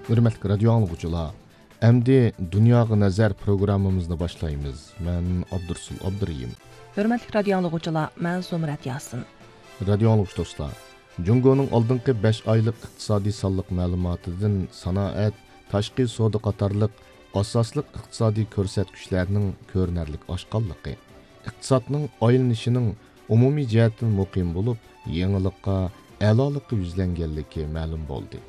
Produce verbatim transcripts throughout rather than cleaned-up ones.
ھۆرمەتلىك رادىيو ئاڭلىغۇچىلار، ئەمدى دۇنياغا نەزەر پروگراممىمىزنى باشلايمىز. مەن ئابدۇرسۇل ئابدۇرېھىم. ھۆرمەتلىك رادىيو ئاڭلىغۇچىلار، مەن زۇمرەت ياسىن. رادىيو ئاڭلىغۇچى دوستلار، جۇڭگونىڭ ئالدىنقى بەش ئايلىق ئىقتىسادىي سانلىق مەلۇماتىدىن سانائەت، تاشقى سودا قاتارلىق ئاساسلىق ئىقتىسادىي كۆرسەتكۈچلەرنىڭ كۆرۈنەرلىك ئاشقانلىقى، ئىقتىسادنىڭ ئايلىنىشىنىڭ ئومۇمىي جەھەتتىن مۇقىم بولۇپ، يېڭىلىققا، ئەلالىققا يۈزلەنگەنلىكى مەلۇم بولدى.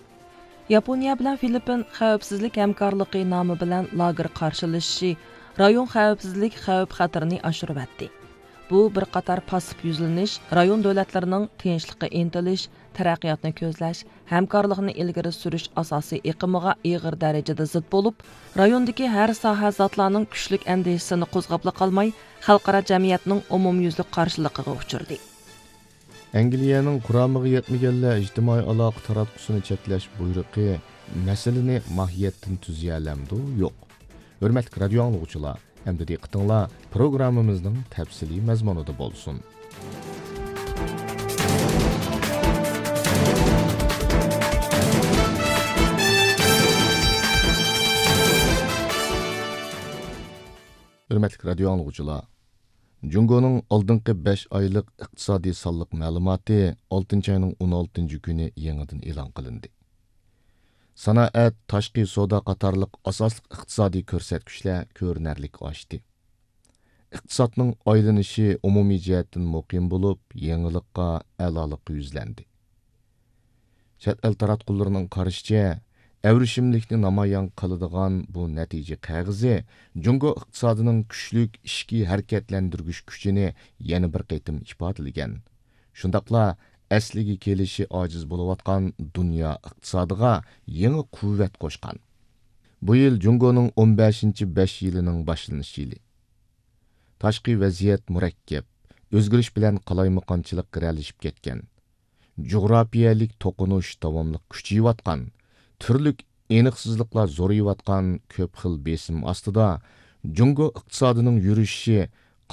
ياپونىيە بىلەن فىلىپپىن خەۋپسىزلىك ھەمكارلىقى نامى بىلەن لاگېر قارشىلىشىشى رايون خەۋپسىزلىك خەۋپ خەتىرىنى ئاشۇرۇۋەتتى. بۇ بىر قاتار پاسسىپ يۈزلىنىش رايون دۆلەتلىرىنىڭ تىنچلىققا ئىنتىلىش، تەرەققىياتنى كۆزلەش، ھەمكارلىقنى ئىلگىرى سۈرۈش ئاساسىي ئېقىمىغا ئېغىر دەرىجىدە زىت بولۇپ، رايوندىكى ھەر ساھە زاتلارنىڭ كۈچلۈك ئەندىشىسىنى قوزغاپلا قالماي، خەلقئارا جەمئىيەتنىڭ ئومۇميۈزلۈك قارشىلىقىغا ئۇچرىدى. ئەنگلىيەنىڭ قۇرامىغا يەتمىگەنلەر ئىجتىمائىي ئالاقە تاراتقۇسىنى چەكلەش بۇيرۇقى مەسىلىنى ماھىيەتتىن تۈزىيەلەمدۇ؟ يوق. ھۆرمەتلىك رادىيو ئاڭلىغۇچىلار، ئەمدى دىققىتىڭلار پروگراممىمىزنىڭ تەپسىلىي مەزمۇنىدا بولسۇن. ھۆرمەتلىك رادىيو ئاڭلىغۇچىلار، جۇڭگونىڭ ئالدىنقى بەش ئايلىق ئىقتىسادىي سانلىق مەلۇماتى ئالتىنچى ئاينىڭ ئون ئالتىنچى كۈنى يېڭىدىن ئېلان قىلىندى. سانائەت، تاشقى سودا قاتارلىق ئاساسلىق ئىقتىسادىي كۆرسەتكۈچلەر كۆرۈنەرلىك ئاشتى. ئىقتىسادنىڭ ئايلىنىشى ئومۇمىي جەھەتتىن مۇقىم بولۇپ، يېڭىلىققا، ئەلالىققا يۈزلەندى. چەت ئەل تاراتقۇلىرىنىڭ قارىشىچە، ئەۋرىشىملىكنى نامايان قىلىدىغان بۇ نەتىجە قەغىزى جۇڭگو ئىقتىسادىنىڭ كۈچلۈك ئىچكى ھەرىكەتلەندۈرگۈچ كۈچىنى يەنە بىر قېتىم ئىپادىلىگەن. شۇنداقلا ئەسلىگە كېلىشى ئاجىز بولۇۋاتقان دۇنيا ئىقتىسادىغا يېڭى قۇۋۋەت قوشقان. بۇ يىل جۇڭگونىڭ ئون بەشىنچى بەش يىلىنىڭ باشلىنىش يىلى. تاشقى ۋەزىيەت مۇرەككەپ، ئۆزگىرىش بىلەن قالايمىقانچىلىق گىرەلىشىپ كەتكەن. جۇغراپىيەلىك توقۇنۇش داۋاملىق كۈچىيىۋاتقان، تۈرلۈك ئېنىقسىزلىقلار زورىيىۋاتقان كۆپ خىل بېسىم ئاستىدا، جۇڭگو ئىقتىسادىنىڭ يۈرۈشۈشى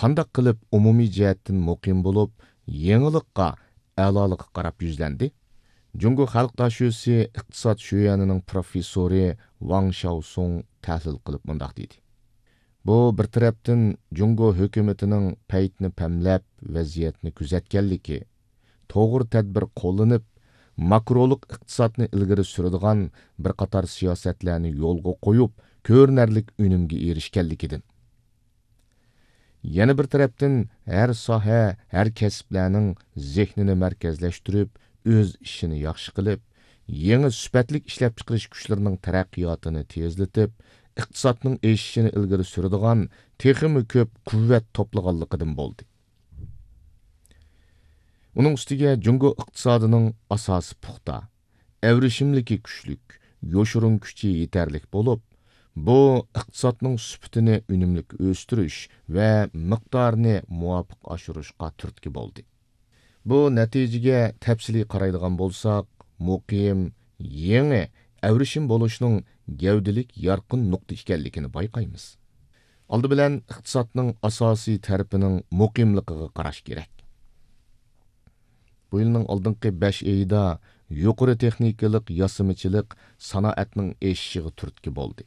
قانداق قىلىپ ئومۇمىي جەھەتتىن مۇقىم بولۇپ، يېڭىلىققا، ئەلالىققا قاراپ يۈزلەندى؟ جۇڭگو خەلق داشۆسى ئىقتىساد شۆيۈەنىنىڭ پروفېسسورى ۋاڭ شياۋسۇڭ تەھلىل قىلىپ مۇنداق دېدى. بۇ بىر تەرەپتىن جۇڭگو ھۆكۈمىتىنىڭ پەيتنى پەملەپ، ۋەزىيەتنى كۆزەتكەنلىكى، توغرا تەدبىر قوللىنىپ، ماكرولۇق ئىقتىسادنى ئىلگىرى سۈرىدىغان بىر قاتار سىياسەتلەرنى يولغا قويۇپ، كۆرۈنەرلىك ئۈنۈمگە ئېرىشكەنلىكىدىن. يەنە بىر تەرەپتىن، ھەر ساھە، ھەر كەسىپلەرنىڭ زېھنىنى مەركەزلەشتۈرۈپ، ئۆز ئىشىنى ياخشى قىلىپ، يېڭى سۈپەتلىك ئىشلەپچىقىرىش كۈچلىرىنىڭ تەرەققىياتىنى تېزلىتىپ، ئىقتىسادنىڭ ئېشىشىنى ئىلگىرى سۈرىدىغان تېخىمۇ كۆپ قۇۋۋەت توپلىغانلىقىدىن بولدى. ئۇنىڭ ئۈستىگە جۇڭگو ئىقتىسادىنىڭ ئاساسى پۇختا، ئەۋرىشىملىكى كۈچلۈك، يوشۇرۇن كۈچى يېتەرلىك بولۇپ، بۇ ئىقتىسادنىڭ سۈپىتىنى ئۈنۈملۈك ئۆستۈرۈش ۋە مىقدارىنى مۇۋاپىق ئاشۇرۇشقا تۈرتكە بولدى. بۇ نەتىجىگە تەپسىلىي قارايدىغان بولساق، مۇقىم، يېڭى ئەۋرىشىم بولۇشنىڭ گەۋدىلىك يارقىن نۇقتا ئىكەنلىكىنى بايقايمىز. ئالدى بىلەن ئىقتىسادنىڭ ئاساسىي تەرىپىنىڭ مۇقىملىقىغا قاراش كېرەك. بۇ يىلنىڭ ئالدىنقى بەش ئېيىدا يۇقىرى تېخنىكىلىق ياسىمىچىلىق سانائەتنىڭ ئېشىشىغا تۈرتكە بولدى.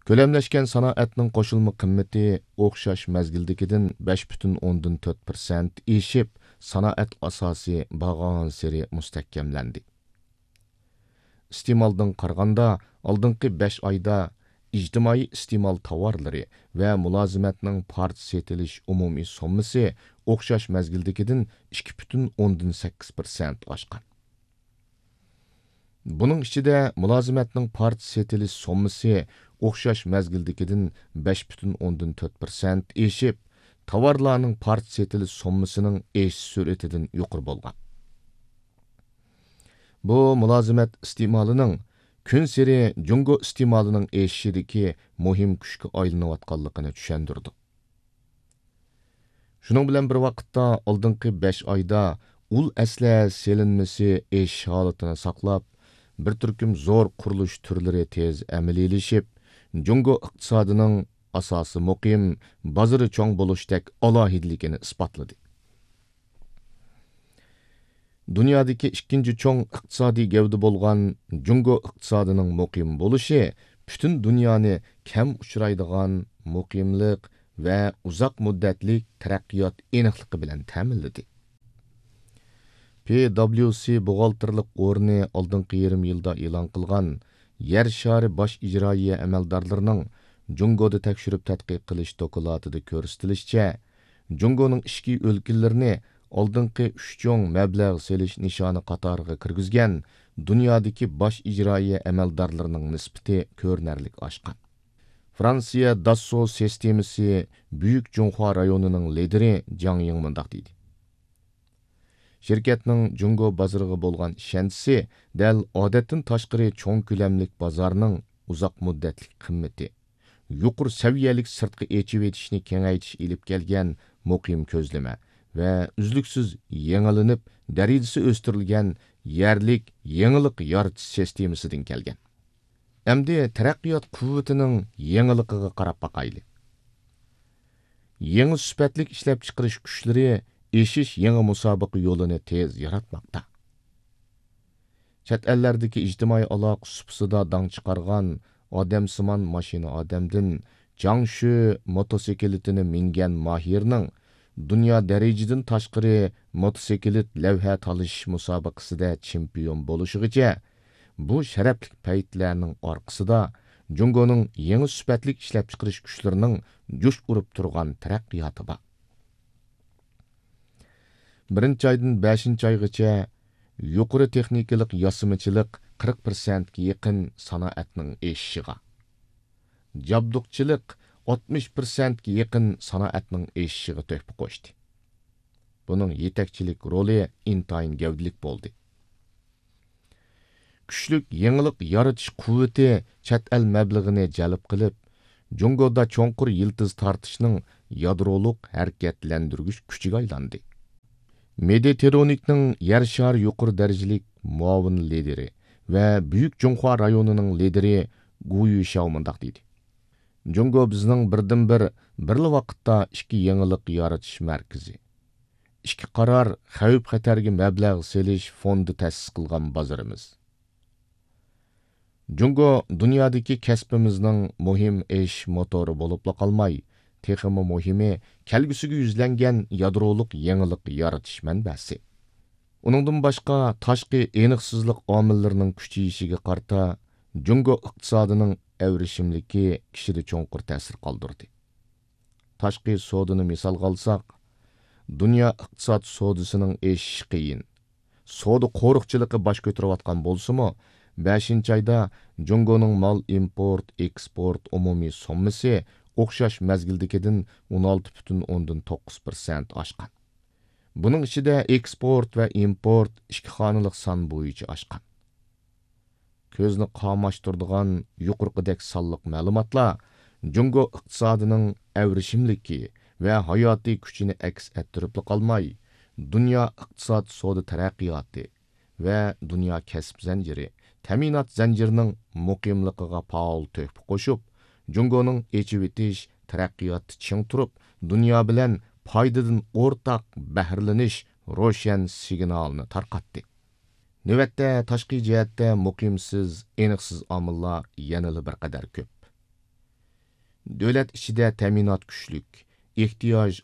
كۆلەملەشكەن سانائەتنىڭ قوشۇلما قىممىتى ئوخشاش مەزگىلدىكىدىن بەش پۈتۈن ئوندىن تۆت پىرسەنت ئېشىپ، سانائەت ئاساسى بارغانسېرى مۇستەھكەملەندى. ئىستېمالدىن قارىغاندا، ئالدىنقى بەش ئايدا ئىجتىمائىي ئىستېمال تاۋارلىرى ۋە مۇلازىمەتنىڭ پارچە سېتىلىش ئومۇمىي سوممىسى ئوخشاش مەزگىلدىكىدىن ئىككى پۈتۈن ئوندىن سەككىز پىرسەنت ئاشقان. بۇنىڭ ئىچىدە مۇلازىمەتنىڭ پارچە سېتىلىش سوممىسى ئوخشاش مەزگىلدىكىدىن بەش پۈتۈن ئوندىن تۆت پىرسەنت ئېشىپ، تاۋارلارنىڭ پارچە سېتىلىش سوممىسىنىڭ ئېشىش سۈرئىتىدىن يۇقىرى بولغان. بۇ مۇلازىمەت ئىستېمالىنىڭ كۈنسېرى جۇڭگو ئىستېمالىنىڭ ئېشىشىدىكى مۇھىم كۈچكە ئايلىنىۋاتقانلىقىنى چۈشەندۈرىدۇ. شۇنىڭ بىلەن بىر ۋاقىتتا، ئالدىنقى بەش ئايدا ئۇل ئەسلىھە سېلىنمىسى ئېشىش ھالىتىنى ساقلاپ، بىر تۈركۈم زور قۇرۇلۇش تۈرلىرى تېز ئەمەلىيلىشىپ، جۇڭگو ئىقتىسادىنىڭ ئاساسى مۇقىم، بازىرى چوڭ بولۇشتەك ئالاھىدىلىكىنى ئىسپاتلىدى. دۇنيادىكى ئىككىنچى چوڭ ئىقتىسادىي گەۋدە بولغان جۇڭگو ئىقتىسادىنىڭ مۇقىم بولۇشى پۈتۈن دۇنيانى كەم ئۇچرايدىغان مۇقىملىق ۋە ئۇزاق مۇددەتلىك تەرەققىيات ئېنىقلىقى بىلەن تەمىنلىدى. پى دابليۇ سى بوغالتىرلىق ئورنى ئالدىنقى يېرىم يىلدا ئېلان قىلغان يەر شارى باش ئىجرائىيە ئەمەلدارلىرىنىڭ جۇڭگودا تەكشۈرۈپ تەتقىق قىلىش دوكلاتىدا كۆرسىتىلىشىچە، جۇڭگونىڭ ئىچكى ئۆلكىلىرىنى ئالدىنقى ئۈچ چوڭ مەبلەغ سېلىش نىشانى قاتارىغا كىرگۈزگەن دۇنيادىكى باش ئىجرائىيە ئەمەلدارلىرىنىڭ نىسبىتى كۆرۈنەرلىك ئاشقان. فرانسىيە داسسو سىستېمىسى بۈيۈك جۇڭخۇا رايونىنىڭ لىدىرى جاڭ يىڭ مۇنداق دېدى: شىركەتنىڭ جۇڭگو بازىرىغا بولغان ئىشەنچىسى دەل ئادەتتىن تاشقىرى چوڭ كۆلەملىك بازارنىڭ ئۇزاق مۇددەتلىك قىممىتى، يۇقىرى سەۋىيەلىك سىرتقا ئېچىۋېتىشنى كېڭەيتىش ئېلىپ كەلگەن مۇقىم كۆزلىمە ۋە ئۈزلۈكسىز يېڭىلىنىپ، دەرىجىسى ئۆستۈرۈلگەن يەرلىك يېڭىلىق يارىتىش سىستېمىسىدىن كەلگەن. ئەمدى تەرەققىيات قۇۋۋىتىنىڭ يېڭىلىقىغا قاراپ باقايلى. يېڭى سۈپەتلىك ئىشلەپچىقىرىش كۈچلىرى ئېشىش يېڭى مۇسابىقە يولىنى تېز ياراتماقتا. چەت ئەللەردىكى ئىجتىمائىي ئالاقە سۇپىسىدا داڭ چىقارغان ئادەمسىمان ماشىنا ئادەمدىن جاڭشۈ موتوسىكلىتىنى مىنگەن ماھىرنىڭ دۇنيا دەرىجىدىن تاشقىرى موتوسىكلىت لەۋھە تالىشىش مۇسابىقىسىدە چېمپىيون بولۇشىغىچە، بۇ شەرەپلىك پەيتلەرنىڭ ئارقىسىدا جۇڭگونىڭ يېڭى سۈپەتلىك ئىشلەپچىقىرىش كۈچلىرىنىڭ جۇش ئۇرۇپ تۇرغان تەرەققىياتى بار. بىرىنچى ئايدىن بەشىنچى ئايغىچە يۇقىرى تېخنىكىلىق ياسىمىچىلىق قىرىق پىرسەنتكە يېقىن سانائەتنىڭ ئېشىشىغا، جابدۇقچىلىق ئاتمىش پىرسەنتكە يېقىن سانائەتنىڭ ئېشىشىغا تۆھپە قوشتى. بۇنىڭ يېتەكچىلىك رولى ئىنتايىن گەۋدىلىك بولدى. كۈچلۈك يېڭىلىق يارىتىش قۇۋۋىتى چەت ئەل مەبلىغىنى جەلپ قىلىپ، جۇڭگودا چوڭقۇر يىلتىز تارتىشنىڭ يادرولۇق ھەرىكەتلەندۈرگۈچ كۈچىگە ئايلاندى. مېدىتېرونىكنىڭ يەر شارى يۇقىرى دەرىجىلىك مۇئاۋىن لىدىرى ۋە بۈيۈك جۇڭخۇا رايونىنىڭ لىدىرى گۇ يۈشياۋ مۇنداق دېدى: جۇڭگو بىزنىڭ بىردىنبىر، بىرلا ۋاقىتتا ئىككى يېڭىلىق يارىتىش مەركىزى، ئىككى قارار خەۋپ-خەتەرگە مەبلەغ سېلىش فوندى تەسىس قىلغان بازىرىمىز. جۇڭگو دۇنيادىكى كەسپىمىزنىڭ مۇھىم ئېشىش موتورى بولۇپلا قالماي، تېخىمۇ مۇھىمى، كەلگۈسىگە يۈزلەنگەن يادرولۇق يېڭىلىق يارىتىش مەنبەسى. ئۇنىڭدىن باشقا، تاشقى ئېنىقسىزلىق ئامىللىرىنىڭ كۈچىيىشىگە قارىتا، جۇڭگو ئىقتىسادىنىڭ ئەۋرىشىملىكى كىشىدە چوڭقۇر تەسىر قالدۇردى. تاشقى سودىنى مىسالغا ئالساق، دۇنيا ئىقتىساد سودىسىنىڭ ئېشىشى قىيىن. سودا قورۇقچىلىقى باش كۆتۈرۈۋاتقان بولسىمۇ، بەشىنچى ئايدا جۇڭگونىڭ مال ئىمپورت، ئېكسپورت ئومۇمىي سوممىسى ئوخشاش مەزگىلدىكىدىن ئون ئالتە پۈتۈن ئوندىن توققۇز پىرسەنت ئاشقان. بۇنىڭ ئىچىدە ئېكسپورت ۋە ئىمپورت ئىككى خانىلىق سان بويىچە ئاشقان. كۆزنى قاماشتۇرىدىغان يۇقىرىقىدەك سانلىق مەلۇماتلار جۇڭگو ئىقتىسادىنىڭ ئەۋرىشىملىكى ۋە ھاياتىي كۈچىنى ئەكس ئەتتۈرۈپلا قالماي، دۇنيا ئىقتىساد سودا تەرەققىياتى ۋە دۇنيا كەسىپ زەنجىرى، تەمىنات زەنجىرىنىڭ مۇقىملىقىغا پائال تۆھپە قوشۇپ، جۇڭگونىڭ ئېچىۋېتىش تەرەققىياتتا چىڭ تۇرۇپ، دۇنيا بىلەن پايدىدىن ئورتاق بەھرىلىنىش روشەن سىگنالىنى تارقاتتى. نۆۋەتتە، تاشقى جەھەتتە مۇقىمسىز، ئېنىقسىز ئامىللار يەنىلا بىر قەدەر كۆپ. دۆلەت ئىچىدە تەمىنات كۈچلۈك، ئېھتىياج